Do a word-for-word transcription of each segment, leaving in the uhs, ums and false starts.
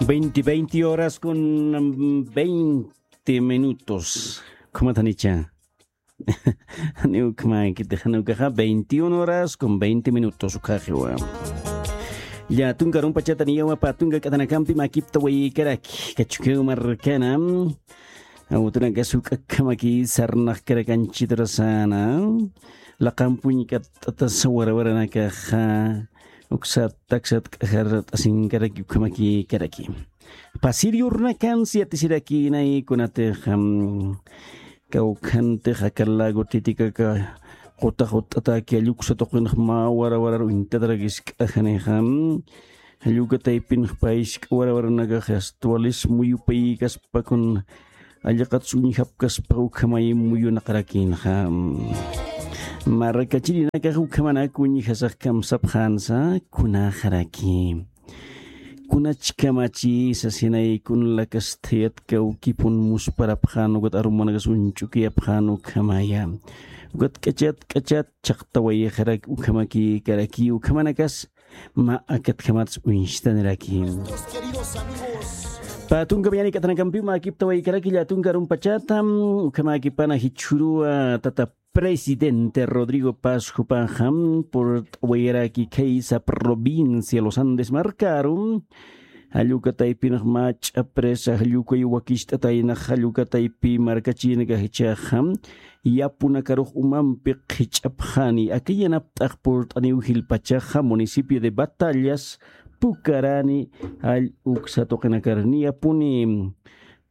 Veinte, veinte horas con, mm, veinte minutos. ¿Cómo tan hecha? Niukma, que te janucaja, veintiuna horas con veinte minutos, ukajiwa. Ya, tunka rumpa chata niyawa pa tunka katanakampi makipta wayikaraki. Kachukiw markana. Awtuna kasuka kamaki sarnak karakanchitrasana. Laqampuñ katata sawara waranakaja. Uksat taksat k'ajar t'asinkaraki ukhamaki karaki. Pasir yurnakan siyatisirakinay kunatix, am, kawkhantix aka lago Titicacá qutax ut'ataki alluksa tuqinx mä wara warar uñtatarak isk'ajanix, am, allukataypinx pä isk'a wara waranakax astualis muyupaykaspakun allaqat suñjapkaspa ukhamay muyunaqarakinxa. Markachirinakax ukhamanak uñjasax kamsapxänsa kunaxaraki. Kunachkamachi sasinay kunlakas thayatkawkipun musparapxän ukat arumanakas uñch'ukiyapxän ukhamaya. Ukat k'achat k'achat chhaqtawayxarak ukhamaki karaki ukhamanakas mä akatjamats uñstaniraki. Pä tunka mañanik'atanakampiw mä akiptawaykaraki llatunka arumpachata, ukhamäkipana jichhüruwa tata presidente Rodrigo Paz jupaxa purt'awayaraki khaysa provincia Los Andes markaru. Jallukataypinx mä ch'apresa jallukay wakicht'ataynax jallukataypi markachinakax jichhaxa yapunakarux umampi qhich'apxani aka yanapt'ax purt'aniw jilpachaxa municipio de Batallas, Pucarani, jall uksa tuqinakar niyapuni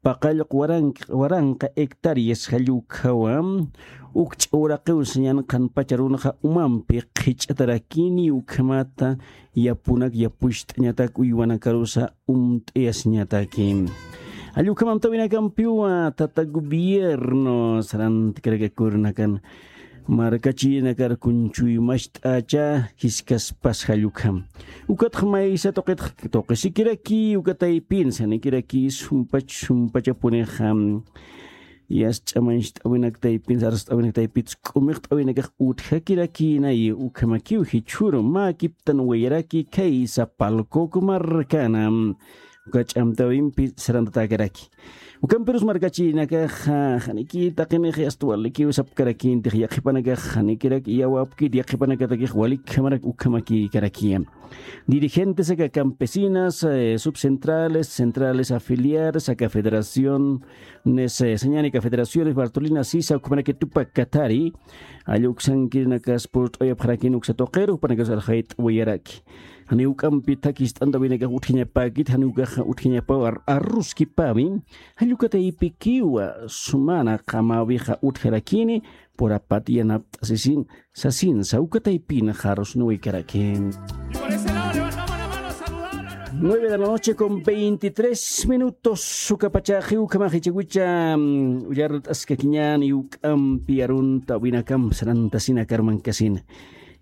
paqallq waranq waranqa hectáreas jallukhawa. Ukch'a uraqiw sañan qhanpacharunxa umampi qhich'atarakini ukhamata yapunak yapucht'añatak uywanakarusa umt'ayasiñataki. Jallukhamamtawinakampiwa tata gobierno sarantikarakakurnakan markachinakar kunchuymacht'acha jiskaspas jallukham. Ukatxa maysa tuqitx tuqisikiraki ukataypin sanikiraki sumpach sumpachapunixa. Yasch'amañcht'awinaktaypin sarst'awinaktaypitsk'umixt'awinakax utjakirakinayi ukhamakiw jichhuru mäkiptan wayaraki khaysa palcoco markana. Uka ch'amtawimpi sarantatäkaraki. Ukampirus markachinakaxa janiki taqinix yastwalikiw sapkarakintix yaqhipanakax janikirak iyawapkit yaqhipanakatakix walikhamarak ukhamakikarakiya. Dirigentes aka campesinas subcentrales centrales afiliares aka federaciones sañanika federaciones bartolina sisa ukhamanaki tupak katari. Alluksankirinakas purt'uyapxarakin uksa tuqiru jupanakas arxayt'wiyaraki. Janiw k'ampi thakist'antawinakax utjañapäkit janiw kaxa utjañapaw arruskipämi. Jallukataypikiwa sumana qamawixa utjarakini purapat yanapt'asisin sasinsa ukataypinxa arrusnuwikaraki. Nueve de la noche con veintitrés minutos ukapachaxiw ukhamax ichawicha ullart'askakiñäni uk'ampi arunta awinakam sarantasina karmankasina.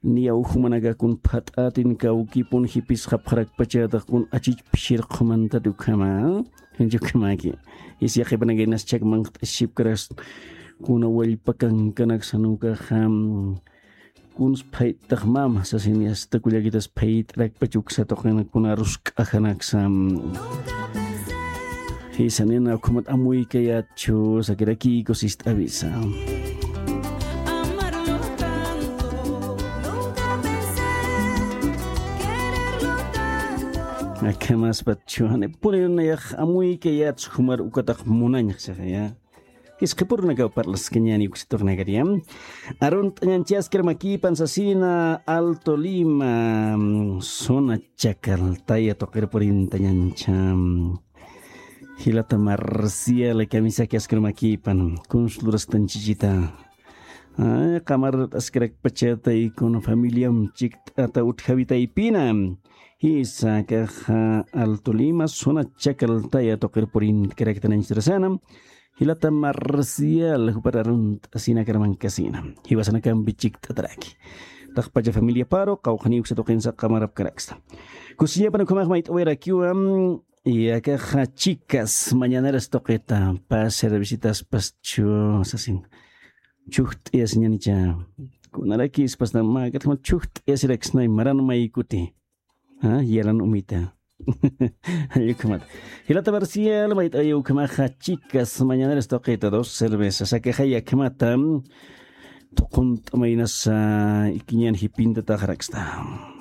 Niyaw jumanakakun phat'atin kawkipun jipisxapxarakpachätax kun achich phishirqhumantat ukhama. Jukhamaki. Isi yaqhipanakay nas chhakmanqt'ashipkaras kuna wallpa kankanaksan ukaxa kuns phayt'tax mama sasin asta kullakitas phayt'arakpach uksa tuqina kuna arusk'ajanaksa. Jisanina ukhamat amuykayatchu sakirakiyku sist'awisa. Akhamaspat chuhani purinayax amuykayats jumar ukatax munañxsixaya. Jisqipurunakaw parlaskañani uksituqnakariya. Arunt'añanchaskarmakipan sasina alto lima zona chakaltaya tuqirpurintañancha. Jilata marcial kamisaki askarmakipan kunslurastanchichita. Qamar askarakpachata y kuna familiam chikt'ata utjawitaypina. Jisa kaxa alto lima zona chakaltaya tuqir purintkaraktanañchirasana. Jilata marcial jupar arunt'asina karmankasina jiwasanakampi chikt'ataraki. Taqpacha familiaparu qawqhaniy uksa tuqinsa qamarapkaraksta. Kusiñapan ukhamax mayt'awirakiwa. Yakaxa chikas mañaneras tuqita pä servicitaspas chu sasin. Chujt'iyasiñanicha. Kunarakispas na mä katjama chujt'iyasiraksnay maran maykuti. Yalan umita. Jallukhamata. Jilata marcial mayt'ayi ukhamaxa chicas mañaneras toqita dos cervezas akaxay akhamatam. Tuqunt'amaynasa ikiñan jipintataxaraksta.